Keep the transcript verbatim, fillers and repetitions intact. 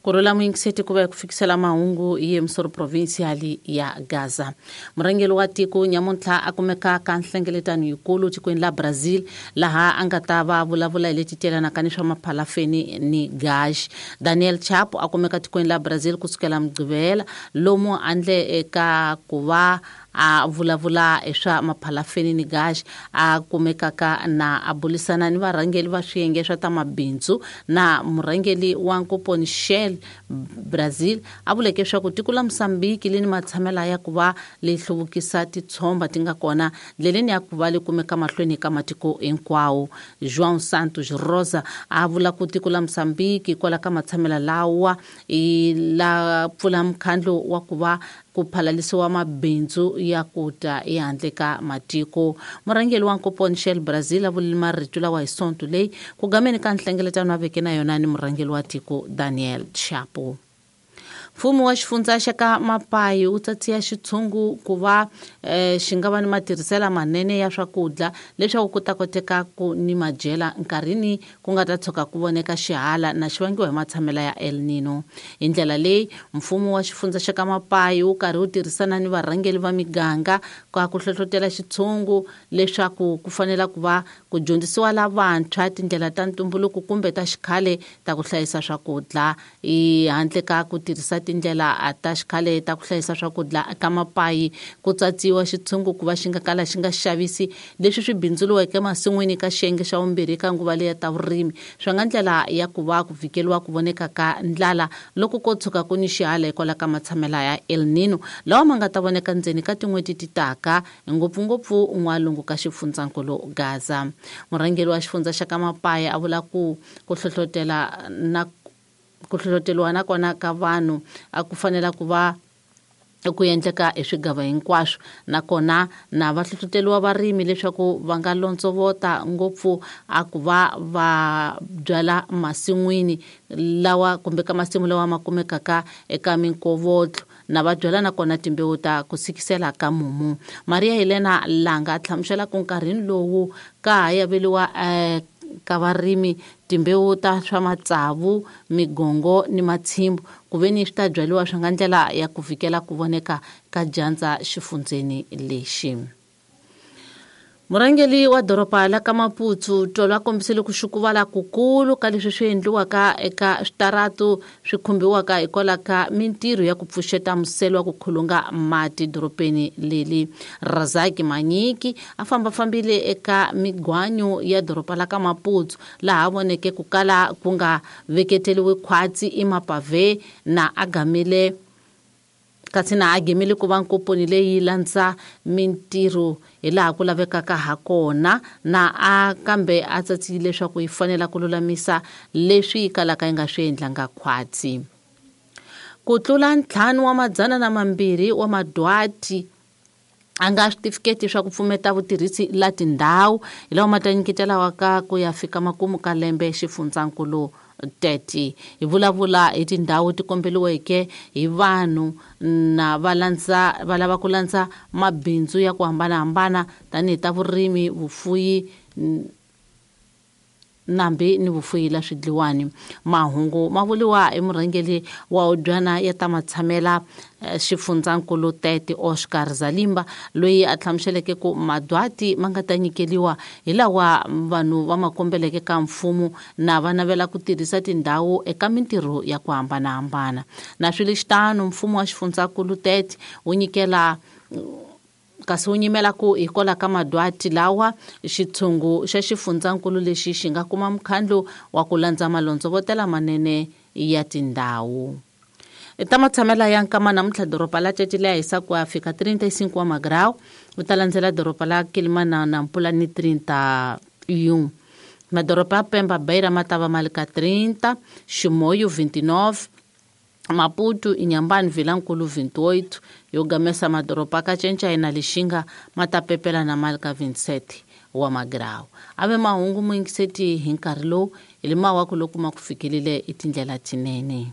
Ku rhula muyingiseti ku va hi ku fikisela mahungu hi emisoro provincial ya Gaza. Murhangeri wa tiko nyamuntlha a kumeka ka nhlengeletano yikulu tikweni la Brazil, laha a nga ta va vulavula hi leti telanaka ni swa maphalafeni ni gas. Daniel Chapo a kumeka tikweni la Brazil kusukela Mugqivela, lomu andle eka ku va a vulavula hi swa maphalafeni ni gas, a kumekaka na a bulisana ni varhangeri va swiyenge swa ta mabindzu na murhangeri wa Nkoponi Shell Brazil. A vuleke leswaku tiko la Mozambique li ni matshamela ya ku va li hluvukisa titshomba ti nga kona ndleleni ya ku va li kumeka mahlweni ka matiko hinkwawo. João Santos Rosa a vula ku tiko la Mozambique kwala ka matshamela lawa i la pfula mukhandlu wa ku va ku phalalisiwa mabindzu ya ku ta ehandle ka matiko. Murhangeri wa Nkoponi Shell Brazil a vulile marito lawa hi Sonto leyi ku gameni ka nhlengeletano a veke na yona ni murhangeri wa tiko Daniel Chapo. Mfumo wa xifundza xa ka Mapayi wu tsatsiya xitshungu ku va eh, xi nga va ni matirhiselo manene ya swakudya leswaku ku ta koteka ku ni madyela nkarhini ku nga ta tshuka ku voneka xihala na xi vangiwa hi matshamela ya El Nino. Hi ndlela leyi, mfumo wa xifundza xa ka Mapayi wu karhi wu tirhisana ni varhangeri va miganga ka ku hlohlotela xitshungu leswaku ku fanela ku va ku dyondzisiwa lavantshwa tindlela ta ntumbuluko kumbe ta xikhale ta ku hlayisa swakudya, i handle ka ku tirhisa tindlela ta xikhale ta ku hlayisa swakudya ka Mapayi. Ku tsatsiwa xitshungu ku va xi nga kala xi nga xavisi leswi swi bindzuriweke emasin'wini ka xiyenge xa vumbirhi ka nguva leya ta vurimi, swi nga ndlela ya ku va ku vhikeliwa ku voneka ka ndlala loko ko tshuka ku ni xihala hikwalaho ka matshamela ya El Nino lawa ma nga ta voneka ndzeni ka tin'hweti ti taka, ngopfungopfu n'walungu ka xifundzankulu Gaza. Murhangeri wa xifundza xa ka Mapayi a vula ku ku hlohlotela na ku hlohloteriwa na kona ka vanhu a ku fanela ku va ku endleka hi swigava hinkwaswo, nakona na va hlohloteriwa varimi leswaku va nga londzovota ngopfu a ku va va byala masin'wini lawa kumbe ka masimu lawa ma kumekaka eka minkovotlo, na va byala nakona timbewu ta ku sikisela ka mumu. Maria Helena Langa a hlamusela ku nkarhini lowu ka ha yaveliwa eh, ka varimi timbewu ta swa matsavu, migongo ni matshimbu, ku ve ni swi ta byariwa swi nga ndlela ya ku vhikela ku voneka ka dyandza xifundzeni lexi. Murhangeri wa doroba la ka Maputo Tolo a kombisile ku xukuvala kukulu ka leswi swi endliwaka eka switaratu swi khumbiwaka hikwalaho ka mintirho ya ku pfuxeta muselo wa ku khulunga mati dorobeni leli. Razaki Manyiki a fambafambile eka migwanyo ya doroba la ka Maputo, laha a voneke ku kala ku nga veketeliwi khwatsi i mapave, na a gamile kasi na a gemile ku va nkoponi leyi landza mintirho hi laha ku lavekaka ha kona, na a kambe a tsatsile leswaku yi fanela ku lulamisa leswi yi kalaka yi nga swi endlanga khwatsi. Ku tlula ntlhanu wa madzana na mambirhi wa madwati a nga switifiketi swa ku pfumeta vutirhisi la tindhawu hi lawa ma ta nyiketelaka ku ya fika makumu ka lembe xifundzankulu tete. Hi vulavula hi tindhawu ti kombeliweke hi vanhu na va landza va lava ku landza mabindzu ya ku hambanahambana tanihi ta vurimi, vufuyi nambi ni vufuyi la swidliwani. Mahungu ma vuriwa hi murhangeri wa hubyana ya ta matshamela xifundzankulu Tete Oscar Zalimba, loyi a hlamuseleke ku madwati ma nga ta nyikeliwa hi lawa vanhu va ma kombeleke ka mfumo na va navela ku tirhisa tindhawu eka mintirho ya ku hambanahambana. Na swi lexitano, mfumo wa xifundzankulu Tete wu nyikela kasi wu nyimela ku hikwalaho ka madwati lawa xitshungu xa xifundzankulu lexi xi nga kuma mukhandlu wa ku landza malondzovotela manene ya tindhawu. Ta matshamela ya nkama namuntlha, doroba la Tete leya hisa ku ya fika trinta e cinco wa magrau, u ta landzela doroba la Quelimana na Nampula ni trinta e um. Madoroba ya Pemba, Beira ma ta va ma li ka trinta, Chimoio vinte e nove, Maputo, Inhambane, Vilankulo vinte e oito, yo gamesa madoroba ka Cinca na Lixinga ma ta pepela na mali ka vinte e sete wa magrau. Ave mahungu muyingiseti hi nkarhi lowu hi le mawaku loko ma ku fikelile i tindlela tinene.